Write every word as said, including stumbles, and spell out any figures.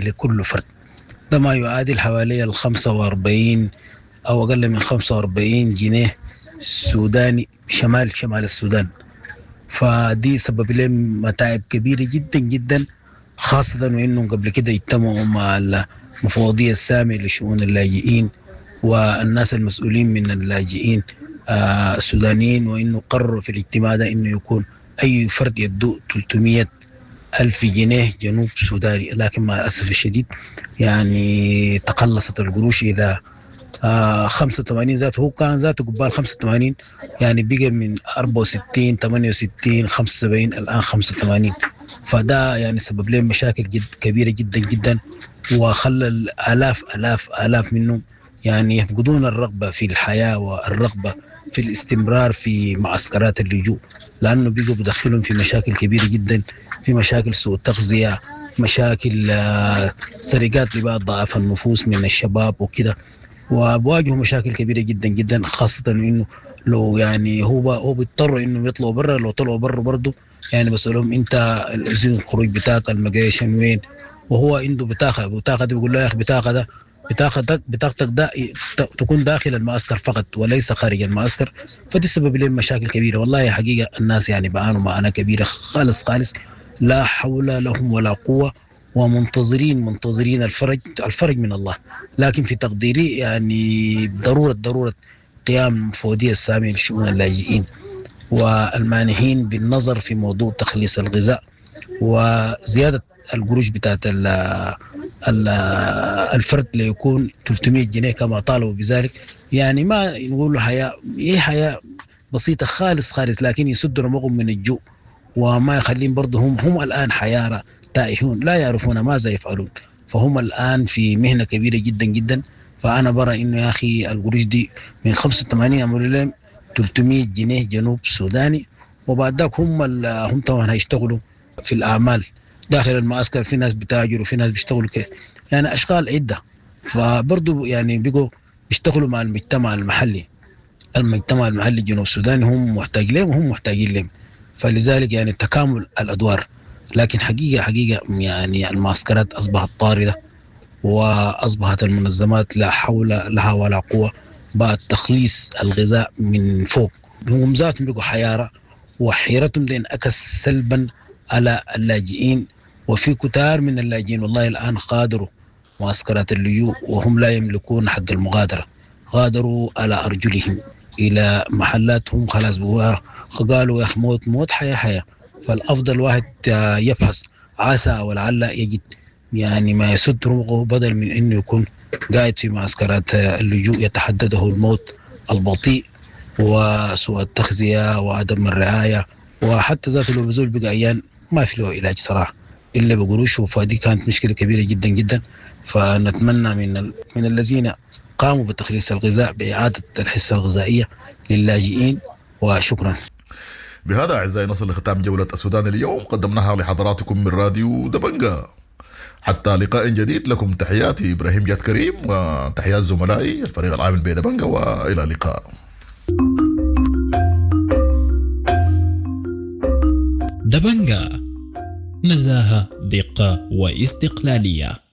لكل فرد، ده ما يعادل حوالي ال خمسة وأربعين أو أقل من خمسة وأربعين جنيه سوداني شمال شمال السودان. فدي سبب لهم متاعب كبيرة جدا جدا، خاصة وإنهم قبل كده اجتمعوا مع المفوضية السامية لشؤون اللاجئين والناس المسؤولين من اللاجئين، آه، السودانيين، وإنه قرروا في الاجتماع ده إنه يكون أي فرد يدو ثلاثمية ألف جنيه جنوب سوداني، لكن مع الأسف الشديد يعني تقلصت القروش إلى، آه، خمسة وثمانين ذاته، هو كان ذاته قبال خمسة وثمانين، يعني بقى من أربعة وستين، ثمانية وستين، خمسة وسبعين، الآن خمسة وثمانين. فده يعني سبب لهم مشاكل جد كبيرة جدا جدا، وخلى الآلاف، آلاف، آلاف منهم يعني يفقدون الرغبة في الحياة والرغبة في الاستمرار في معسكرات اللجوء، لأنه بيجوا بدخلهم في مشاكل كبيرة جدا، في مشاكل سوء تغذية، مشاكل، آه، سرقات لبعض ضعاف النفوس من الشباب وكده، وبواجهوا مشاكل كبيرة جدا جدا، خاصة إنه لو يعني هو ب-، هو بيضطروا إنه يطلعوا برا، لو طلعوا برا برضو يعني بسألهم أنت الإذن الخروج بتاعك الميجريشن وين، وهو عنده بطاقة، بطاقة دي بيقول له يا أخي بطاقة ده، بطاقتك، بطاقتك ده ت-، تكون داخل المعسكر فقط وليس خارج المعسكر. فدي سبب لهم مشاكل كبيرة والله. حقيقة الناس يعني بعانوا معاناة كبيرة خالص خالص، لا حول لهم ولا قوة، ومنتظرين، منتظرين الفرج، الفرج من الله. لكن في تقديري يعني ضرورة، ضرورة قيام المفوضية السامية لشؤون اللاجئين والمانحين بالنظر في موضوع تخليص الغذاء وزيادة القروش بتاعت ال-، ال-، الفرد ليكون ثلاثمية جنيه كما طالبوا بذلك. يعني ما نقول حياة، هي حياة بسيطة خالص خالص، لكن يسد رمقهم من الجوع وما يخليهم برضه هم، هم الآن حيارى تائهون لا يعرفون ماذا يفعلون، فهم الآن في مهنة كبيرة جدا جدا. فأنا برى إنه يا أخي القروش دي من خمسة وثمانين عملوا لهم ثلاثمية جنيه جنوب سوداني، وبعد ذاك هم ال-، هم طبعا هيشتغلوا في الأعمال داخل المعسكر، في ناس بتاجروا وفي ناس بيشتغلوا كده، يعني أشغال عدة. فبرضو يعني بيجوا بيشتغلوا مع المجتمع المحلي، المجتمع المحلي الجنوب السوداني هم محتاج لهم وهم محتاجين لهم، فلذلك يعني تكامل الأدوار. لكن حقيقة، حقيقة يعني المعسكرات أصبحت طاردة، وأصبحت المنظمات لا حول لها ولا قوة بعد تخليص الغذاء من فوق. هم ذاتهم بيقوا حيارة، وحيرتهم دي انعكس سلبا على اللاجئين، وفي كتار من اللاجئين والله الآن غادروا معسكرات اللجوء وهم لا يملكون حق المغادرة، غادروا على أرجلهم إلى محلاتهم خلاص، قالوا يا أخي موت موت حياة حياة. فالأفضل واحد يبحث عسى ولعل يجد يعني ما يسد رمقه، بدل من إنه يكون قاعد في معسكرات اللجوء يتحدده الموت البطيء وسوء التغذية وعدم الرعاية، وحتى ذاته لو بزول بقى عيان ما في له علاج صراحة إلا بقروش. فدي كانت مشكلة كبيرة جدا جدا. فنتمنى من ال-، من الذين قاموا بتخليص الغذاء بإعادة الحصة الغذائية للاجئين، وشكرا. بهذا أعزائي نصل لختام جولة السودان اليوم، قدمناها لحضراتكم من راديو دبنجا. حتى لقاء جديد، لكم تحياتي إبراهيم جاد كريم وتحيات زملائي الفريق العامل بدبنجا، وإلى اللقاء. دبنجا، نزاهة، دقة واستقلالية.